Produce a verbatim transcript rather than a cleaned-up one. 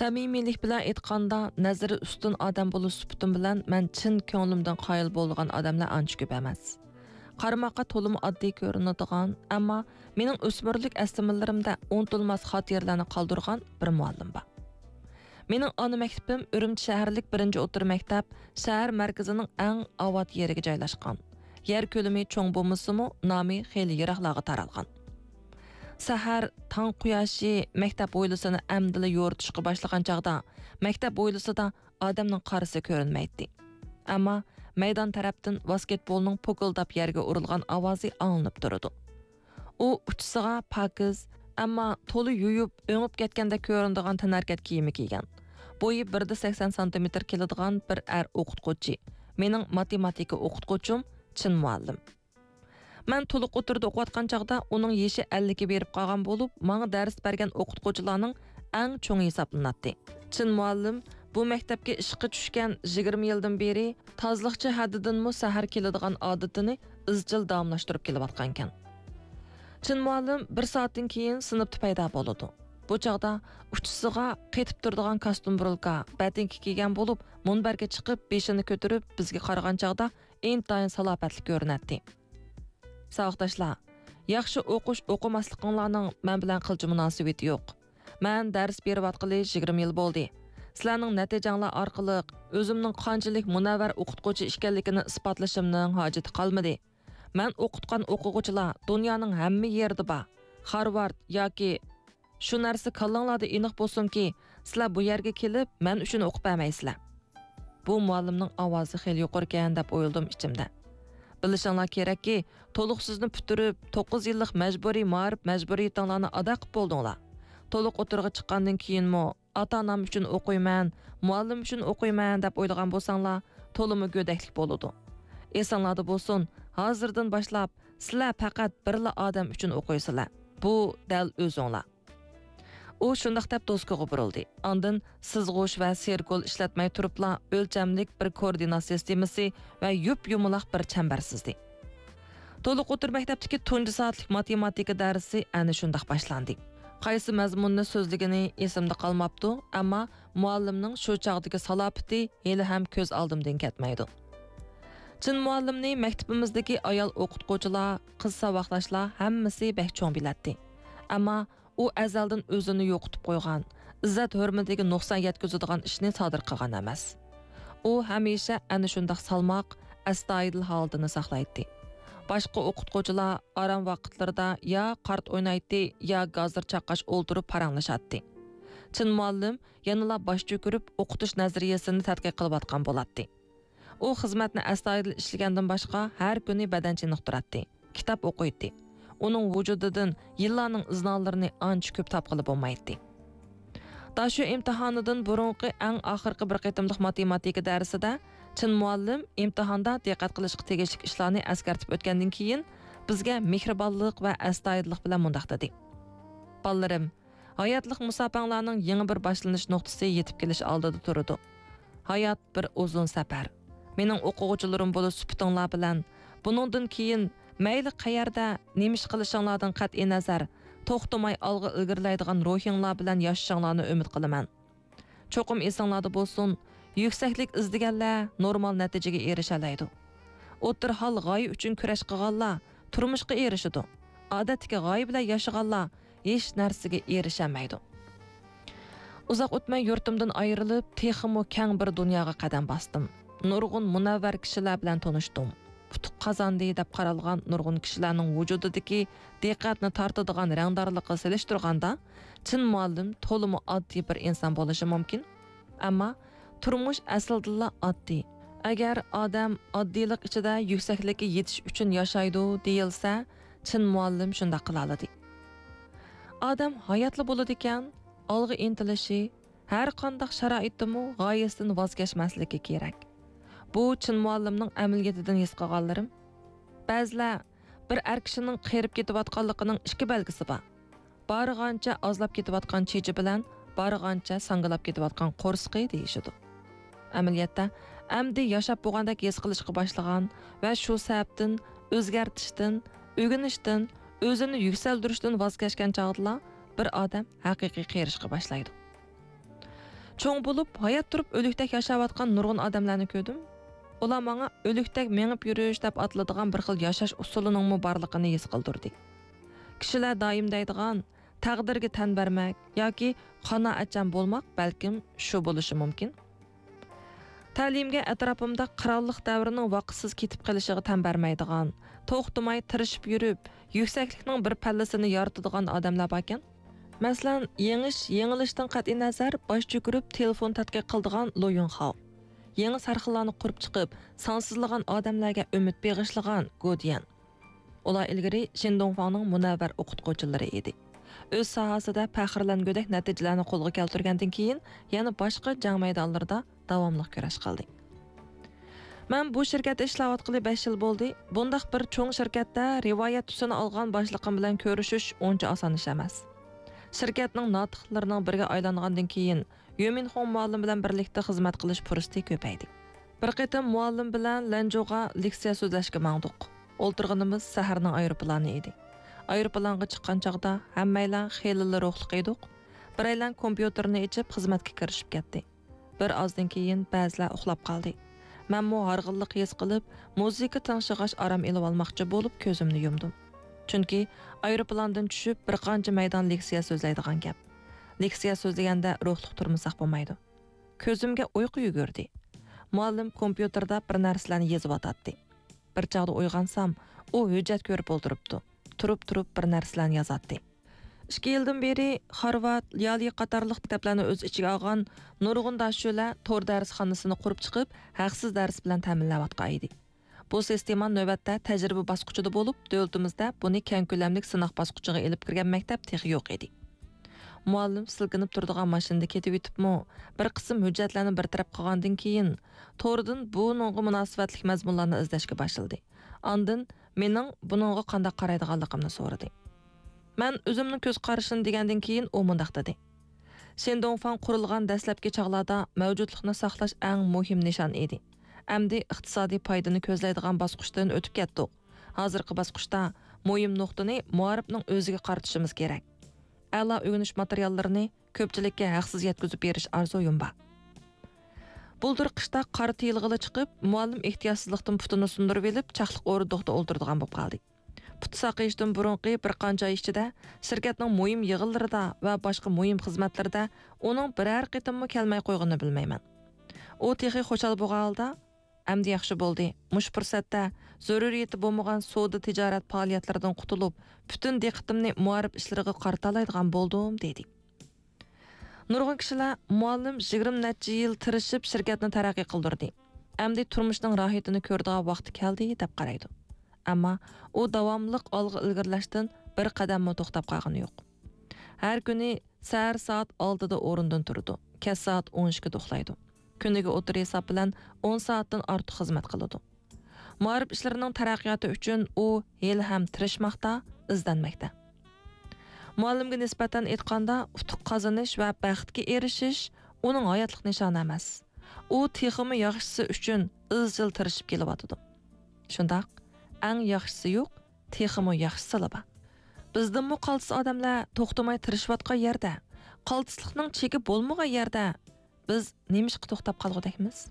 سەمىمىيلىك بىلەن ئېيتقاندا، نەزىرى ئۈستۈن ئادەم بولۇش سۈپىتىم بىلەن مەن چىن كۆڭلۈمدىن قايىل بولىدىغان ئادەملەر ئانچە كۆپ ئەمەس. قارىماققا تولىمۇ ئاددىي كۆرۈنىدىغان، ئەمما مېنىڭ ئۆسمۈرلۈك ئەسلىمىلىرىمدە ئۇنتۇلماس خاتىرىلەرنى قالدۇرغان بىر مۇئەللىم بار. مېنىڭ ئانا مەكتىپىم ئۈرۈمچى شەھەرلىك بىرىنچى ئوتتۇرا مەكتەپ، شەھەر مەركىزىنىڭ ئەڭ ئاۋات يېرىگە جايلاشقان. يەر كۆلىمى چوڭ بولمىسىمۇ، نامى خېلى يىراقلارغا تارالغان. سەھەر تاڭ قۇياشى مەكتەپ ھويلىسىنى ئەمدىلا يورۇتۇشقا باشلىغان چاغدا، مەكتەپ ھويلىسىدا ئادەمنىڭ قارىسى كۆرۈنمەيتتى. ئەمما مەيدان تەرەپتىن ۋاسكېتبولنىڭ پوكۇلداپ يەرگە ئۇرۇلغان ئاۋازى ئاڭلىنىپ تۇرىدۇ. ئۇ ئۇچىسىغا پاكىز، ئەمما تولا يۇيۇپ، ئۆڭۈپ كەتكەندەك كۆرۈنىدىغان تەنھەرىكەت كىيىمى كىيگەن. بويى بىر دە سەكسەن سانتىمېتىر كېلىدىغان بىر ئەر ئوقۇتقۇچى، مېنىڭ ماتېماتىكا ئوقۇتقۇچۇم چىن مۇئەللىم. مەن تولۇق ئوتتۇرىدا ئوقۇۋاتقان چاغدا ئۇنىڭ يېشى ئەللىككە بېرىپ قالغان بولۇپ، ماڭا دەرس بەرگەن ئوقۇتقۇچىلارنىڭ ئەڭ چوڭى ھېسابلىناتتى. چىن مۇئەللىم بۇ مەكتەپكە ئىشقا چۈشكەن يىگىرمە يىلدىن بېرى تازىلىقچى ھەددىدىنمۇ سەھەر كېلىدىغان ئادىتىنى ئىزچىل داۋاملاشتۇرۇپ كېلىۋاتقانىكەن. چىن مۇئەللىم بىر سائەتتىن كېيىن سىنىپتا پەيدا بولىدۇ. بۇ چاغدا ئۇچىسىغا قېتىپ تۇرىدىغان كاستيۇم بۇرۇلكا، بەتىنكە كىيگەن بولۇپ، مۇنبەرگە چىقىپ، بېشىنى كۆتۈرۈپ، بىزگە قارىغان چاغدا ئىنتايىن سالاپەتلىك كۆرۈنەتتى. ساۋاقداشلار، ياخشى ئوقۇش ئوقۇماسلىقىڭلارنىڭ مەن بىلەن قىلچە مۇناسىۋىتى يوق. مەن دەرس بېرىۋاتقىلى يىگىرمە يىل بولدى. سىلەرنىڭ نەتىجەڭلار ئارقىلىق ئۆزۈمنىڭ قانچىلىك مۇنەۋۋەر ئوقۇتقۇچى ئىكەنلىكىنى ئىسپاتلىشىمنىڭ ھاجىتى قالمىدى. مەن ئوقۇتقان ئوقۇغۇچىلار دۇنيانىڭ ھەممە يېرىدە بار. خارۋارد ياكى شۇ نەرسە كاللاڭلاردا ئېنىق بولسۇنكى، سىلەر بۇ يەرگە كېلىپ، مەن ئۈچۈن ئوقۇپ بەرمەيسىلەر. بۇ مۇئەللىمنىڭ ئاۋازى خېلى يۇقىرىكەن دەپ ئويلىدىم ئىچىمدە. بىلىشىڭلار كېرەككى، تولۇقسىزنى پۈتتۈرۈپ، توققۇز يىللىق مەجبۇرىي مائارىپ مەجبۇرىيىتىڭلارنى ئادا قىپ بولدۇڭلار. تولۇق ئوتتۇرىغا چىققاندىن كېيىنمۇ ئاتا-ئانام ئۈچۈن ئوقۇيمەن، مۇئەللىم ئۈچۈن ئوقۇيمەن دەپ ئويلىغان بولساڭلار، تولىمۇ گۆدەكلىك بولىدۇ. ئېسىڭلاردا بولسۇن، ھازىردىن باشلاپ سىلەر پەقەت بىرلا ئادەم ئۈچۈن ئوقۇيسىلەر. بۇ دەل ئۆزۈڭلار. ئۇ شۇنداق دەپ دوسكىغا بۇرۇلدى. ئاندىن سىزغۇچ ۋە سېركول ئىشلەتمەي تۇرۇپلا ئۆلچەملىك بىر كوئوردىنات سىستېمىسى ۋە يۇپ-يۇمىلاق بىر چەمبەر سىزدى. تولۇق ئوتتۇرا مەكتەپتىكى تۇنجى سائەتلىك ماتېماتىكا دەرسى ئەنە شۇنداق باشلاندى. قايسى مەزمۇننى سۆزلىگىنى ئېسىمدە قالماپتۇ، ئەمما مۇئەللىمنىڭ شۇ چاغدىكى سالاپىتى ھېلىھەم كۆز ئالدىمدىن كەتمەيدۇ. چىن مۇئەللىمنى مەكتىپىمىزدىكى ئايال ئوقۇتقۇچىلار، قىز ساۋاقداشلار ھەممىسى بەك چوڭ بىلەتتى. ئەمما ئۇ ئەزەلدىن ئۆزىنى يوقىتىپ قويغان، ئىززەت-ھۆرمىتىگە نۇقسان يەتكۈزىدىغان ئىشنى سادىر قىلغان ئەمەس. ئۇ ھەمىشە ئەنە شۇنداق سالماق، ئەستايىدىل ھالىتىنى ساقلايتتى. باشقا ئوقۇتقۇچىلار ئارام ۋاقىتلىرىدا يا قارت ئوينايتتى، يا گازىر چاققاچ ئولتۇرۇپ پاراڭلىشاتتى. چىن مۇئەللىم يەنىلا باش چۆكۈرۈپ ئوقۇتۇش نەزەرىيەسىنى تەتقىق قىلىۋاتقان بولاتتى. ئۇ خىزمەتنى ئەستايىدىل ئىشلىگەندىن باشقا، ھەر كۈنى بەدەن چېنىقتۇراتتى، كىتاب ئوقۇيتتى. ئۇنىڭ ۋۇجۇدىدىن يىللارنىڭ ئىزنالىرىنى ئانچە كۆپ تاپقىلى بولمايتتى. داشۆ ئىمتىھانىدىن بۇرۇنقى ئەڭ ئاخىرقى بىر قېتىملىق ماتېماتىكا دەرسىدە چىن مۇئەللىم ئىمتىھاندا دىققەت قىلىشقا تېگىشلىك ئىشلارنى ئەسكەرتىپ ئۆتكەندىن كېيىن، بىزگە مېھرىبانلىق ۋە ئەستايىدىللىق بىلەن مۇنداق دېدى: بالىلىرىم، ھاياتلىق مۇساپەڭلارنىڭ يېڭى بىر باشلىنىش نۇقتىسى يېتىپ كېلىش ئالدىدا تۇرىدۇ. ھايات بىر ئۇزۇن سەپەر. مېنىڭ ئوقۇغۇچىلىرىم بولۇش سۈپىتىڭلار بىلەن، بۇنىڭدىن كېيىن مەيلى قەيەردە، نېمە ئىش قىلىشىڭلاردىن قەتئىينەزەر، توختىماي ئالغا ئىلگىرىلەيدىغان روھىڭلار بىلەن ياشىشىڭلارنى ئۈمىد قىلىمەن. چوقۇم ئېسىڭلاردا بولسۇن، يۈكسەكلىك ئىزدىگەنلەر نورمال نەتىجىگە ئېرىشەلەيدۇ. ئوتتۇرا ھال غايە ئۈچۈن كۈرەش قىلغانلار تۇرمۇشقا ئېرىشىدۇ. ئادەتتىكى غايە بىلەن ياشىغانلار ھېچ نەرسىگە ئېرىشەلمەيدۇ. ئۇزاق ئۆتمەي يۇرتۇمدىن ئايرىلىپ، تېخىمۇ كەڭ بىر دۇنياغا قەدەم باستىم. نۇرغۇن مۇنەۋۋەر كىشىلەر بىلەن تونۇشتۇم. ئۇتۇق قازاندى دەپ قارالغان نۇرغۇن كىشىلەرنىڭ ۋۇجۇدىدىكى دىققەتنى تارتىدىغان رەڭدارلىققا سېلىشتۇرغاندا، چىن مۇئەللىم تولىمۇ ئاددىي بىر ئىنسان بولۇشى مۇمكىن. ئەمما تۇرمۇش ئەسلىدىنلا ئاددىي. ئەگەر ئادەم ئاددىيلىق ئىچىدە يۈكسەكلىككە يېتىش ئۈچۈن ياشايدۇ دېيىلسە، چىن مۇئەللىم شۇنداق قىلالىدى. ئادەم ھاياتلا بولىدىكەن، ئالغا ئىنتىلىشى، ھەر قانداق شارائىتتىمۇ غايىسىدىن ۋاز كەچمەسلىكى كېرەك. بۇ چىن مۇئەللىمنىڭ ئەمەلىيىتىدىن ھېس قىلغانلىرىم. بەزىلەر بىر ئەر كىشىنىڭ قېرىپ كېتىۋاتقانلىقىنىڭ ئىككى بەلگىسى بار. بارغانچە ئازلاپ كېتىۋاتقان چېچى بىلەن بارغانچە ساڭگىلاپ كېتىۋاتقان قورسىقى دېيىشىدۇ. ئەمەلىيەتتە، ئەمدى ياشاپ بولغاندەك ھېس قىلىشقا باشلىغان ۋە شۇ سەۋەبتىن ئۆزگەرتىشتىن، ئۆگىنىشتىن، ئۆزىنى يۈكسەلدۈرۈشتىن ۋاز كەچكەن چاغدىلا بىر ئادەم ھەقىقىي قېرىشقا باشلايدۇ. چوڭ بولۇپ، ھايات تۇرۇپ ئۆلۈكتەك ياشاۋاتقان نۇرغۇن ئادەملەرنى كۆردۈم. ئۇلار ماڭا ئۆلۈكتەك مېڭىپ يۈرۈش دەپ ئاتىلىدىغان بىر خىل ياشاش ئۇسۇلىنىڭمۇ بارلىقىنى ھېس قىلدۇردى. كىشىلەر دائىم دەيدىغان، تەقدىرگە تەن بەرمەك ياكى قانائەتچان بولماق بەلكىم شۇ بولۇشى مۇمكىن. تەلىيىمگە ئەتراپىمدا قىرانلىق دەۋرىنىڭ ۋاقىتسىز كېتىپ قېلىشىغا تەن بەرمەيدىغان، توختىماي تىرىشىپ يۈرۈپ، يۈكسەكلىكنىڭ بىر پەللىسىنى يارىتىدىغان ئادەملەر باركەن. مەسىلەن، يېڭىش، يېڭىلىشتىن قەتئىينەزەر، باش چۆكۈرۈپ تېلېفون تەتقىق قىلىدىغان لو يۇنخاۋ، يېڭى سەرخىللارنى قۇرۇپ چىقىپ، سانسىزلىغان ئادەملەرگە ئۈمىد بېغىشلىغان گو ديەن. ئۇلار ئىلگىرى شېن دۇڭفاڭنىڭ مۇنەۋۋەر ئوقۇتقۇچىلىرى ئىدى. ئۆز ساھەسىدە پەخىرلەنگۈدەك نەتىجىلەرنى قولغا كەلتۈرگەندىن كېيىن، يەنە باشقا جەڭ مەيدانلىرىدا داۋاملىق كۈرەش قىلدى. مەن بۇ شىركەتتە ئىشلەۋاتقىلى بەش يىل بولدى. بۇنداق بىر چوڭ شىركەتتە رىۋايەت تۈسىنى ئالغان باشلىقىم بىلەن كۆرۈشۈش ئۇنچە ئاسان ئىش ئەمەس. شىركەتنىڭ ناتىقلىرىنىڭ بىرىگە ئايلانغاندىن كېيىن، يۆمىنخۇڭ مۇئەللىم بىلەن بىرلىكتە خىزمەت قىلىش پۇرسىتى كۆپەيدى. بىر قېتىم مۇئەللىم بىلەن لەنجۇغا لېكسىيە سۆزلەشكە ماڭدۇق. ئولتۇرغىنىمىز سەھەرنىڭ ئايروپىلانى ئىدى. ئايروپىلانغا چىققان چاغدا ھەممەيلەن خېلىلا روھلۇق ئىدۇق. بىرەيلەن كومپيۇتېرنى ئېچىپ خىزمەتكە كىرىشىپ كەتتى. بىر ئازدىن كېيىن بەزىلەر ئۇخلاپ قالدى. مەنمۇ ھارغىنلىق ھېس قىلىپ، مۇزىكا تىڭشىغاچ ئارام ئېلىۋالماقچى بولۇپ كۆزۈمنى يۇمدۇم. چۈنكى ئايروپىلاندىن چۈشۈپ بىر قانچە مەيدان لېكسىيە سۆزلەيدىغان گەپ. لېكسىيە سۆزلىگەندە روھلۇق تۇرمىساق بولمايدۇ. كۆزۈمگە ئۇيقۇ يۈگۈردى. مۇئەللىم كومپيۇتېردا بىر نەرسىلەرنى يېزىۋاتاتتى. بىر چاغدا ئويغانسام، ئۇ ھۆججەت كۆرۈپ ئولتۇرۇپتۇ. تۇرۇپ-تۇرۇپ بىر نەرسىلەرنى يازاتتى. ئىككى يىلدىن بېرى خارۋارد، يالى قاتارلىق مەكتەپلەرنى ئۆز ئىچىگە ئالغان نۇرغۇن داشۆلە تور دەرسخانىسىنى قۇرۇپ چىقىپ، ھەقسىز دەرس بىلەن تەمىنلەۋاتقان ئىدى. بۇ سىستېما نۆۋەتتە تەجرىبە باسقۇچىدا بولۇپ، دۆلىتىمىزدە بۇنى كەڭ كۆلەملىك سىناق باسقۇچىغا ئېلىپ كىرگەن مەكتەپ تېخى يوق ئىدى. مۇئەللىم سىلكىنىپ تۇرىدىغان ماشىنىدا كېتىۋېتىپمۇ، بىر قىسىم ھۆججەتلەرنى بىر تەرەپ قىلغاندىن كېيىن، توردىن بۇنىڭغا مۇناسىۋەتلىك مەزمۇنلارنى ئىزدەشكە باشلىدى. ئاندىن مېنىڭ بۇنىڭغا قانداق قارايدىغانلىقىمنى سورىدى. مەن ئۆزۈمنىڭ كۆز قارىشىنى دېگەندىن كېيىن، ئۇ مۇنداق دېدى: شېن دۇڭفاڭ قۇرۇلغان دەسلەپكى چاغلاردا مەۋجۇتلۇقنى ساقلاش ئەڭ مۇھىم نىشان ئىدى. ئەمدى ئىقتىسادىي پايدىنى كۆزلەيدىغان باسقۇچتىن ئۆتۈپ كەتتۇق. ھازىرقى باسقۇچتا مۇھىم نۇقتىنى مۇئەررىپنىڭ ئۆزىگە قارىتىشىمىز كېرەك. ئەلا ئۆگىنىش ماتېرىياللىرىنى كۆپچىلىككە ھەقسىز يەتكۈزۈپ بېرىش ئارزۇيۇم بار. بۇلتۇر قىشتا قار تىيىلغىلى چىقىپ، مۇئەللىم ئېھتىياتسىزلىقتىن پۇتىنى سۇندۇرۇۋېلىپ، چاقلىق ئورۇندۇقتا ئولتۇرىدىغان بولۇپ قالدى. پۇت ساقىيىشتىن بۇرۇنقى بىر قانچە ئاي ئىچىدە شىركەتنىڭ مۇھىم يىغىنلىرىدا ۋە باشقا مۇھىم خىزمەتلىرىدە ئۇنىڭ بىرەر قېتىممۇ كەلمەي قويغىنىنى بىلمەيمەن. ئۇ تېخى خۇشال بولغان ھالدا، «ئەمدى ياخشى بولدى. مۇشۇ پۇرسەتتە زۆرۈرىيىتى بولمىغان سودا تىجارەت پائالىيەتلىرىدىن قۇتۇلۇپ، پۈتۈن دىققىتىمنى مۇئەررىپ ئىشلىرىغا قارىتالايدىغان بولدۇم» دېدى. نۇرغۇن كىشىلەر مۇئەللىم يىگىرمە نەچچە يىل تىرىشىپ شىركەتنى تەرەققىي قىلدۇردى. ئەمدى تۇرمۇشنىڭ راھىتىنى كۆرىدىغان ۋاقتى كەلدى دەپ قارايدۇ. ئەمما ئۇ داۋاملىق ئالغا ئىلگىرىلەشتىن بىر قەدەممۇ توختاپ قالغىنى يوق. ھەر كۈنى سەھەر سائەت ئالتىدا ئورنىدىن تۇرىدۇ، كەچ سائەت ئون ئىككىدە ئۇخلايدۇ. كۈنىگە ئوتتۇرا ھېساب بىلەن ئون سائەتتىن ئارتۇق خىزمەت قىلىدۇ. مائارىپ ئىشلىرىنىڭ تەرەققىياتى ئۈچۈن ئۇ ھېلىھەم تىرىشماقتا، ئىزدەنمەكتە. مۇئەللىمگە نىسبەتەن ئېيتقاندا، ئۇتۇق قازىنىش ۋە بەختكە ئېرىشىش ئۇنىڭ ھاياتلىق نىشانى ئەمەس. ئۇ تېخىمۇ ياخشىسى ئۈچۈن ئىزچىل تىرىشىپ كېلىۋاتىدۇ. شۇنداق، ئەڭ ياخشىسى يوق، تېخىمۇ ياخشىسىلا بار. بىزدىنمۇ قالتىس ئادەملەر توختىماي تىرىشىۋاتقان يەردە، قالتىسلىقنىڭ چېكى بولمىغان يەردە بىز نېمىشقا توختاپ قالغۇدەكمىز؟